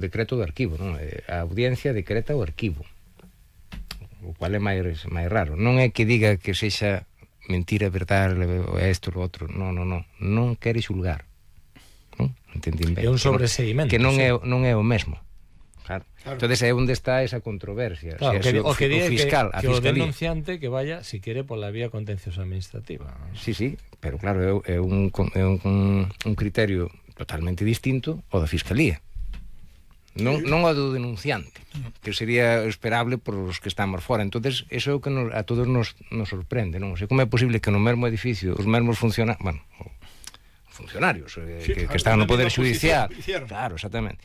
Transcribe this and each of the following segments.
decreto do arquivo, non? A audiencia decreta o arquivo, o cual é máis raro. Non é que diga que sexa mentira, verdade, isto, o outro, non quere xulgar, non? Entendín ben. É un sobreseguimento. Que non é o mesmo. Claro. Entonces é onde está esa controversia. Claro, o fiscal, que o denunciante que vaya, si quere, pola vía contenciosa administrativa. Sí, pero claro, é un criterio totalmente distinto ao da fiscalía. Non ao do denunciante, que sería esperable por os que estamos fora. Entonces, eso é o que a todos nos sorprende, non? O sea, como é posible que no mesmo edificio os mesmos funcionarios que están no Poder Judicial, claro, exactamente,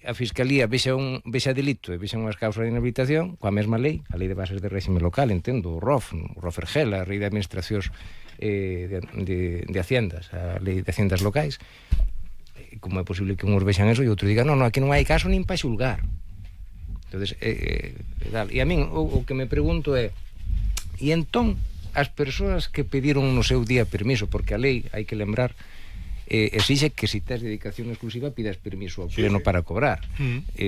a Fiscalía vexa delito e vexa unhas causas de inhabilitación coa mesma lei, a Lei de Bases de Réxime Local, entendo, o ROFRGEL, a Lei de Administracións de Haciendas, a Lei de Haciendas Locais. Como é posible que uns vexan eso e outro diga, non, aquí non hai caso nin para xulgar. Entonces, e a min o que me pregunto é, e entón as persoas que pediron no seu día permiso, porque a lei, hai que lembrar, exixe que se tes dedicación exclusiva pidas permiso ao pleno para cobrar.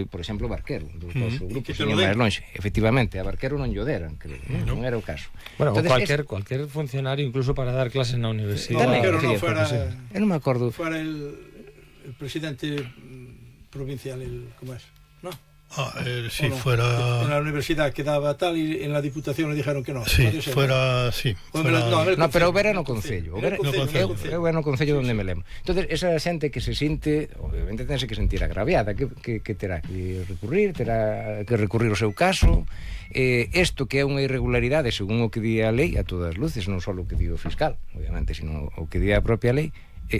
Por exemplo, Barquero, dos nosos grupos, señor máis longe. Efectivamente, a Barquero non lle deran, non era o caso. Bueno, cualquier funcionario, incluso para dar clases na universidade. Barquero non fuera... Eu non me acordo. Fuera el presidente provincial, ¿cómo es? ¿No? Sí, no, fuera... En la universidad quedaba tal y en la diputación le dijeron que no. Sí, fuera... Sí, fuera... No, pero era no Concello. Eu era no Concello donde me lembro. Entonces, esa xente que se sinte, obviamente tense que sentir agraviada, que terá que recurrir, terá que recurrir o seu caso. Isto que é unha irregularidade, según o que di a lei, a todas luces, non só o que di o fiscal, obviamente, sino o que di a propia lei,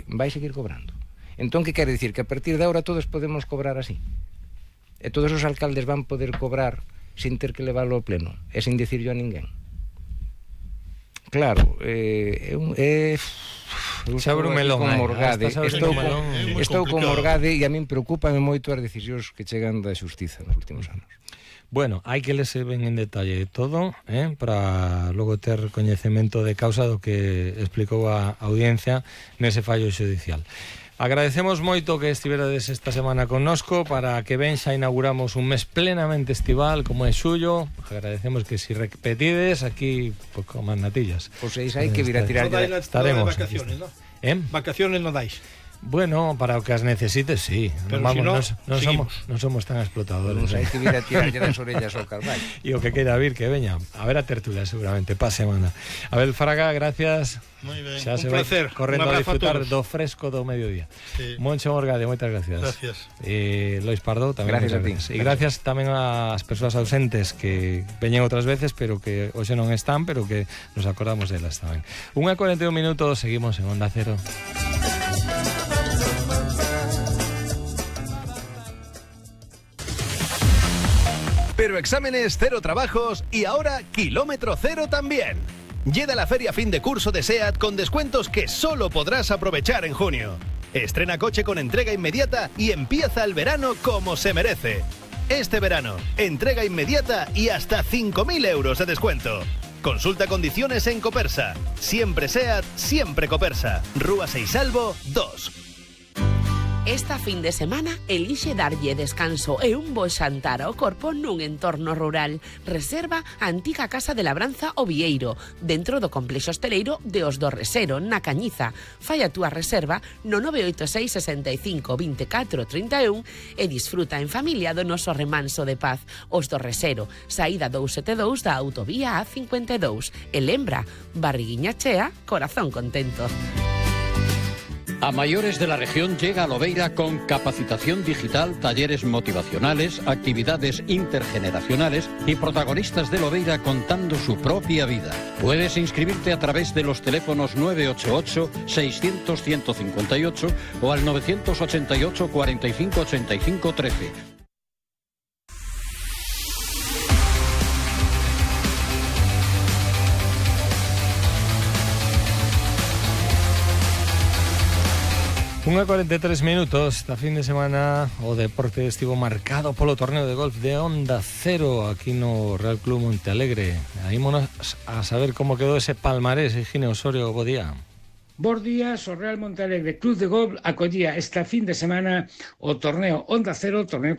vai seguir cobrando. Entón, que quere dicir? Que a partir de agora todos podemos cobrar así? E todos os alcaldes van poder cobrar sin ter que leválo ao pleno e sin dicirlo a ninguén? Claro, Xa abre un melón. Estou con Morgade e a min preocúpame moito as decisións que chegan da xustiza nos últimos anos. Bueno, hai que lerse ben en detalle todo, para logo ter coñecemento de causa do que explicou a audiencia nese fallo xudicial. Agradecemos moito que estiverades esta semana connosco. Para que ben xa inauguramos un mes plenamente estival como é xullo. Agradecemos que si repetides aquí pues, con as natillas. Pois hai que vir a tirar ya. Estaremos vacaciones, ¿no? Vacaciones no dais. Bueno, para o que as necesites, sí. Pero vamos, si non somos tan explotadores. Non hai que vir a tirar das orellas ao Carballo. E o que queira vir, que veña. A ver a tertulia seguramente, pa semana. Abel Fraga, gracias. Moi ben. Xa un placer. Correndo a disfrutar do fresco do mediodía. Sí. Moncho Morgade, moitas gracias. Gracias. Lois Pardo, tamén gracias a ti. E gracias tamén ás persoas ausentes que veñen outras veces, pero que hoxe non están, pero que nos acordamos delas tamén. 1:41 minutos, seguimos en Onda Cero. Pero exámenes, cero trabajos y ahora kilómetro cero también. Llega la feria fin de curso de SEAT con descuentos que solo podrás aprovechar en junio. Estrena coche con entrega inmediata y empieza el verano como se merece. Este verano, entrega inmediata y hasta 5.000 euros de descuento. Consulta condiciones en Copersa. Siempre SEAT, siempre Copersa. Rúa Seisalvo 2. Esta fin de semana elixe darlle descanso e un bo xantar ao corpo nun entorno rural. Reserva a antiga Casa de Labranza O Vieiro, dentro do complexo hosteleiro de Os do Resero, na Cañiza. Fai a túa reserva no 986 65 24 31 e disfruta en familia do noso remanso de paz. Os do Resero, saída 272 da autovía A52. E lembra, barriguiña chea, corazón contento. A mayores de la región llega a Lobeira con capacitación digital, talleres motivacionales, actividades intergeneracionales y protagonistas de Lobeira contando su propia vida. Puedes inscribirte a través de los teléfonos 988-600-158 o al 988-45-85-13. Unha 43 minutos. Esta fin de semana o deporte estivo marcado polo torneo de golf de Onda Cero aquí no Real Club Montealegre. Aí monos a saber como quedou ese palmarés, Higinio Osorio, bo día. Bos días, o Real Monte Alegre Club de Golf acollía esta fin de semana o torneo Onda Cero, torneo